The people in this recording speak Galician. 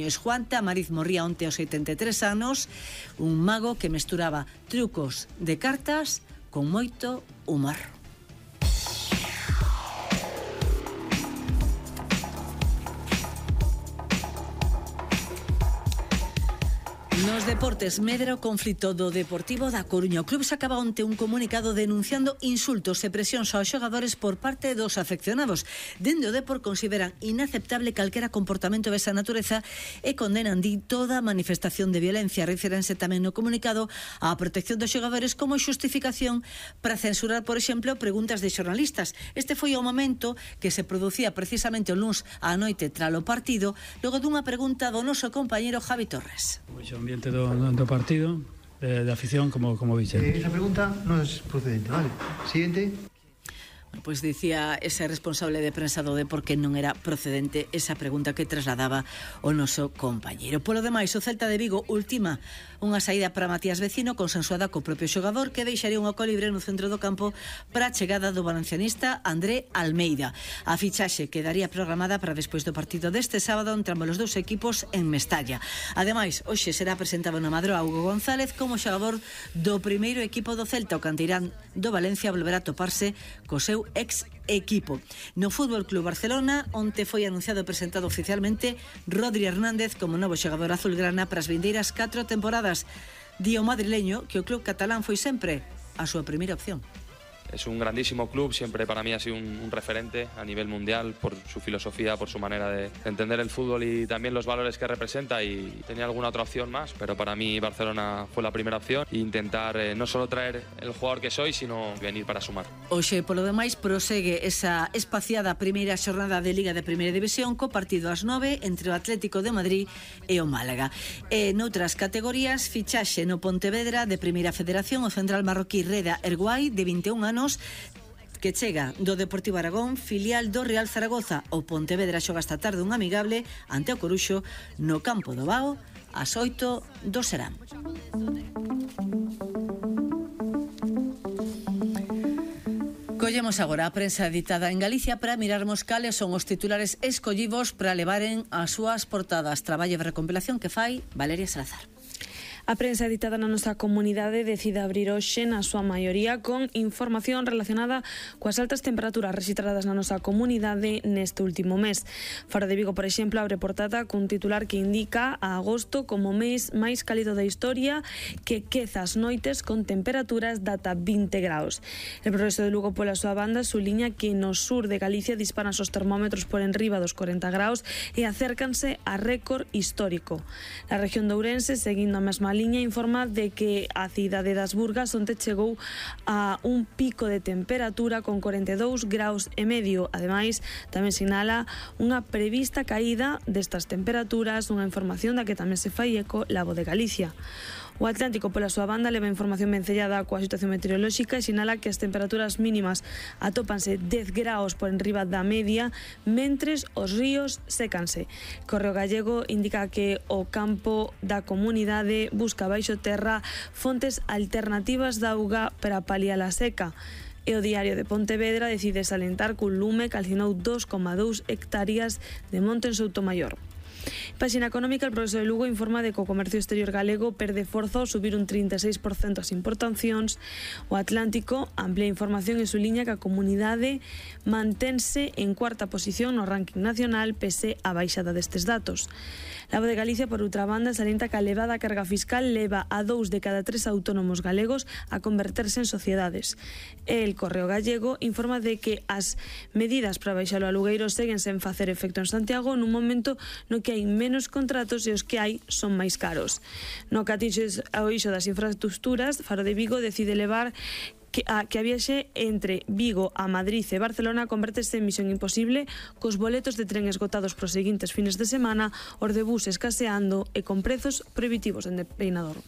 Juan Tamariz morría onte aos 83 anos, un mago que mesturaba trucos de cartas con moito humor. Nos deportes, medra o conflito do Deportivo da Coruña. O club sacaba onte un comunicado denunciando insultos e presións aos xogadores por parte dos afeccionados. Dende o Depor consideran inaceptable calquera comportamento desa natureza e condenan toda manifestación de violencia. Refírense tamén no comunicado á protección dos xogadores como xustificación para censurar, por exemplo, preguntas de xornalistas. Este foi o momento que se producía precisamente o luns á noite tralo partido, logo dunha pregunta do noso compañeiro Javi Torres. O ambiente do partido, de afición, como dice. Esa pregunta non é procedente, vale? Siguiente. Pois dicía ese responsable de prensa do Depor que non era procedente esa pregunta que trasladaba o noso compañeiro. Polo demais, o Celta de Vigo ultima unha saída para Matías Vecino consensuada co propio xogador, que deixaría un oco libre no centro do campo para a chegada do valencianista André Almeida. A fichaxe quedaría programada para despois do partido deste sábado entre ambos os dous equipos en Mestalla. Ademais, hoxe será presentado na Madroa Hugo González como xogador do primeiro equipo do Celta. O canteirán do Valencia volverá a toparse co seu ex equipo. No Fútbol Club Barcelona, onte foi anunciado e presentado oficialmente Rodri Hernández como novo xogador azulgrana para as vindeiras 4 temporadas. Di o madrileño que o club catalán foi sempre a súa primeira opción. Es un grandísimo club, siempre para mí ha sido un referente a nivel mundial por su filosofía, por su manera de entender el fútbol y también los valores que representa, y tenía alguna otra opción más, pero para mí Barcelona fue la primera opción e intentar no solo traer el jugador que soy, sino venir para sumar. Hoxe, polo demais, prosegue esa espaciada primeira xornada de Liga de Primeira División co partido ás 9 entre o Atlético de Madrid e o Málaga. E noutras categorías, fichaxe no Pontevedra de Primeira Federación o central marroquí Reda Erguai, de 21 anos, que chega do Deportivo Aragón, filial do Real Zaragoza. O Pontevedra xoga esta tarde un amigable ante o Coruxo no campo do Bao ás 8 do Serán. Collemos agora a prensa editada en Galicia para mirarmos cales son os titulares escollivos para levaren as súas portadas. Traballo de recompilación que fai Valeria Salazar. A prensa editada na nosa comunidade decide abrir hoxe na súa maioría con información relacionada coas altas temperaturas rexistradas na nosa comunidade neste último mes. Faro de Vigo, por exemplo, abre portada cun titular que indica a agosto como mes máis cálido da historia, que queza as noites con temperaturas de ata 20 graus. El Progreso de Lugo, pola súa banda, suliña que no sur de Galicia disparan os termómetros por enriba dos 40 graus e acércanse a récord histórico. Na región de Ourense, seguindo a mesma liña, informa de que a cidade das Burgas onte chegou a un pico de temperatura con 42 graus e medio. Ademais, tamén sinala unha prevista caída destas temperaturas, unha información da que tamén se fai eco Lago de Galicia. O Atlántico, pola súa banda, leva información vencellada coa situación meteorolóxica e sinala que as temperaturas mínimas atópanse 10 graus por enriba da media, mentres os ríos sécanse. Correo Gallego indica que o campo da comunidade busca baixo terra fontes alternativas de auga para paliar a seca. E o Diario de Pontevedra decide salientar que un lume calcinou 2,2 hectáreas de monte en Soutomaior. Páxina económica, el Progreso de Lugo informa de que o comercio exterior galego perde forza ao subir un 36% as importacións. O Atlántico amplía información e suliña que a comunidade mantense en cuarta posición no ranking nacional pese a baixada destes datos. Lago de Galicia, por outra banda, salienta que a elevada carga fiscal leva a 2 de cada 3 autónomos galegos a converterse en sociedades. El Correo Gallego informa de que as medidas para baixar o alugueiro seguen sen facer efecto en Santiago nun momento no que hai menos contratos e os que hai son máis caros. No que atinxe ao eixo das infraestructuras, Faro de Vigo decide levar que a viaxe entre Vigo a Madrid e Barcelona convertese en misión imposible, cos boletos de tren esgotados pros seguintes fines de semana, os de bus escaseando e con prezos prohibitivos en Peinador.